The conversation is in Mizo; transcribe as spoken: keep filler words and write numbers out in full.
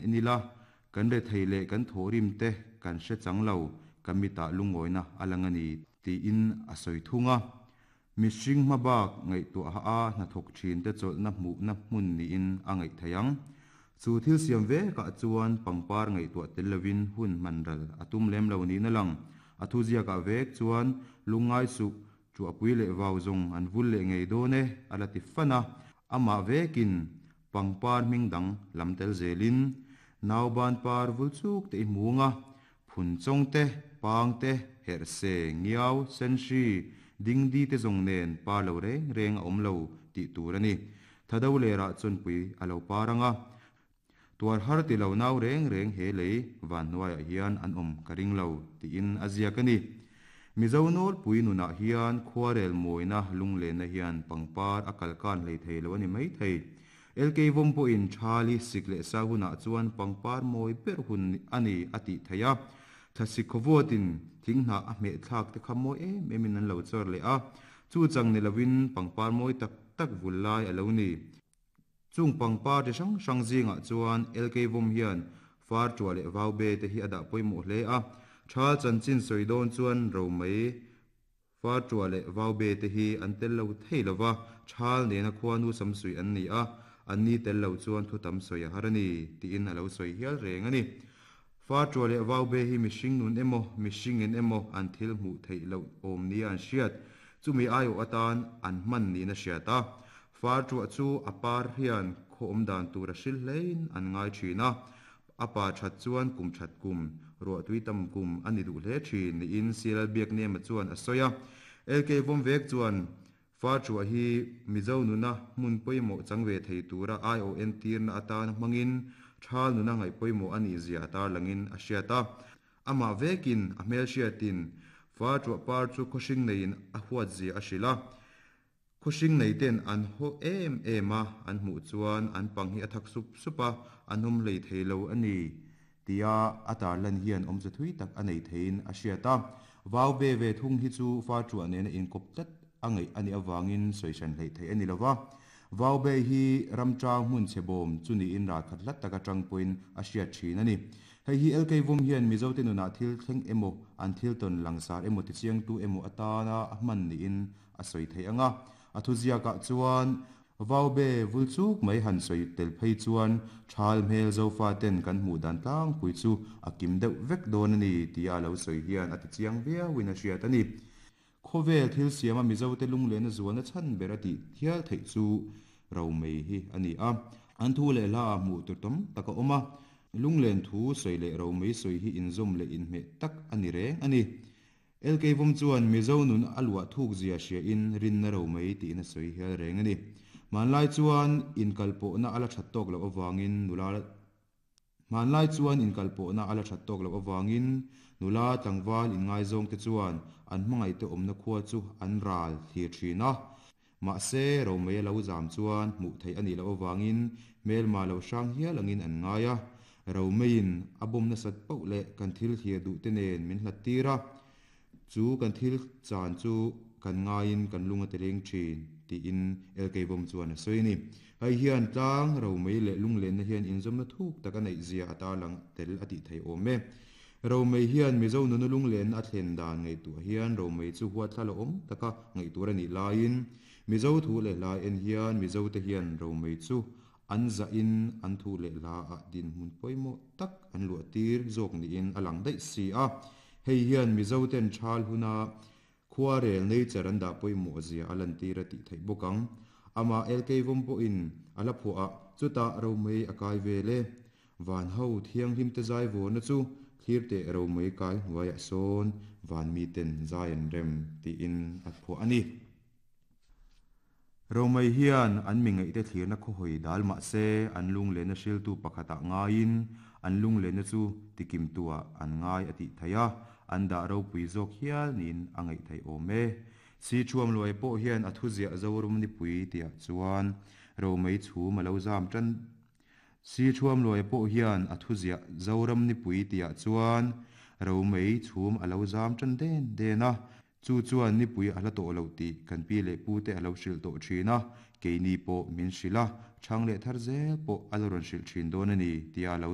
en ila, kan rethei leh kan thawhrim te kan hre chang lo, kan mitah lungawina a lang a ni, tiin a sawi thung a. Mihring hmabak ngaihtuah a hnathawk thin te chawlhna hmuhna hmun niin a ngaih theih ang. Chu thil siam vekah chuan pangpar ngaihtuah tel lovin hun hman ral a tum lem lo niin a lang. A thuziakah vek chuan lungngai suh, Chuahpui leh vau zawng an vul leh ngei dawn e, a la ti fan a. Amah vekin pangpar hming dang lam tel zelin nauban par vul chuk te i hmung a, phun chawng te, pang te, herh se, ngiau, senhri, dingdi te zawng nen par lo reng reng a awm lo tih tur a ni. Thado lerah chawnpui a lo par ang a, tuar har ti lo nau reng reng he lei van hnuaiah hian an awm ka ring lo tiin a ziak a ni. Mizo nawlpui nunah hian khuarel mawina lunglenna hian pangpar a kalkan hlei thei lo a ni maithei. L K Vawm pawhin Thali sik leh sa hunah chuan pangpar mawi ber hun a ni a tih theih a. Thlasik khawvuatin thing hnah a hmeh thlak te kha mawi em emin an lo chawr leh a. Chu chang ni lovin pangpar mawi tak tak vul lai a lo ni. Chung pangpar chi hrang hrang zingah chuan L K Vawm hian far ṭuah leh vau be te hi a dah pawimawh hle a. Thal chanchin sawi dawn chuan romei far ṭuah leh vau be te hi an tel lo thei lo va, thal nena khuanu samsui an ni a, an ni tel lo chuan thu tam sawi a har a ni, tiin a lo sawi hial reng a ni. Far ṭuah leh vau be hi mihring nun emaw, mihringin emaw an thil hmuh theih loh awm nia an hriat, chumi aiawh atan an hman niin a hriat a. Far ṭuah chu a par hian khaw awm dan tur a hril hlein an ngai ṭhin a, a pa ṭhat chuan kum ṭhat kum, ruahtui tam kum a ni duh hle ṭhin niin Sialal Biaknema chuan a sawi a. L K Vawm vek chuan far ṭuah hi Mizo nuna hmun pawimawh chang ve thei tura I O N tirna atana hmangin thal nuna ngaih pawimawh a nih zia a tarlangin a hriat a. Amah vekin a hmelhriatin far ṭuah par chu khawhring neiin a huat zia a hrilh a. Khawhring nei ten an haw em em a, an hmuh chuan an pang hi a thak sup sup a, an awm hlei thei lo a ni tia a tarlan hian awmze thui tak a nei theiin a hriat a. Vau ve ve thung hi chu fa ṭuah nena inkawp tlat a ngaih a nih avangin sawi hran hleih theih a ni lo va. Vau be hi ramṭang hmun chhe bawm chu niin ralkhat hlat taka ṭang pawhin a hriat ṭhin a ni. Hei hi L K Vawm hian Mizote nunah thil thleng emaw, an thil tawn langsar emaw tichiangtu emaw atana a hman niin a sawi theih ang a. A thuziakah chuan Vaube vul chuk mai han sawi tel phei chuan thal hmel zofa ten kan hmuh dan tlangpui chu a kim deuh vek dawn a ni tia a lo sawi hian a tichiang viauin a hriat a ni. Khawvel thil siama Mizote lunglehna zualna chhan ber a tih thial theih chu romei hi a ni a. An thu leh hla ah hmuh tur tam tak a awm a. Lunglen thu sawi leh romei sawi hi inzawm leh inhmeh tak a ni reng a ni. L K Vawm chuan Mizo nun a luah thuk zia hriain rinna romei tiin a sawi hial reng a ni. Hmanlai chuan inkalpawhna a la that tawk loh avangin nula Hmanlai chuan inkalpawhna a la that tawk loh avangin nula tlangval inngaizawngte chuan an hmangaihte awmna khua chu an ral thlir thin a. Mahse, romei a lo zam chuan hmuh theih a nih loh avangin hmelma lo hrang hial angin an ngai a. Romeiin a bawm nasat poh leh kan thil thlir duhte nen min hlat tir a, chu kan thil chan chu kan ngaiin kan lung a ti leng thin, tiin L K Vawm chuan a sawi a ni. Hei hian tlang, romei leh lunglenna hian inzawmna thuk tak a neih zia a tarlang tel a tih theih awm e. Romei hian Mizo nuna lunglenna a thlen dan ngaihtuah hian romei chu huatthla la awm taka ngaihtur a nih laiin Mizo thu leh hla en hian Mizote hian romei chu an zahin an thu leh hla ah dinhmun pawimawh tak an luah tir zawk niin a lang daih si a. Hei hian Mizoten thal huna khuarel nature an dah pawimawh zia a lantir a tih theih bawk ang. Amah L K Vawm pawhin a la phuah a, chutah romei a kai vel e. Van ho thianghlim te zai vawrna chu thlir teh romei kai hnuaiah sawn van miten zai an rem tiin a phuah a ni. Romei hian an mi ngaihte thlirna khawhawi dal mah se an lunglehna hriltu pakhatah ngaiin an lunglehna chu tikimtuah an ngai a tih theih a, an dah ropui zawk hial niin a ngaih theih awm e. Si thuam luai pawh hian a thuziah Zoram nipui tihah chuan romei chhum a lo zam tan. Si thuam luai pawh hian a thuziah Zoram nipui tihah chuan romei chhum a lo zam tan den den a. Chu chuan nipui a hla tawh loh tih kan pi leh pute a lo hrilh tawh thin a, keini pawh min hrilh a, chhang leh thar zel pawh a la rawn hrilh thin dawn a ni tia a lo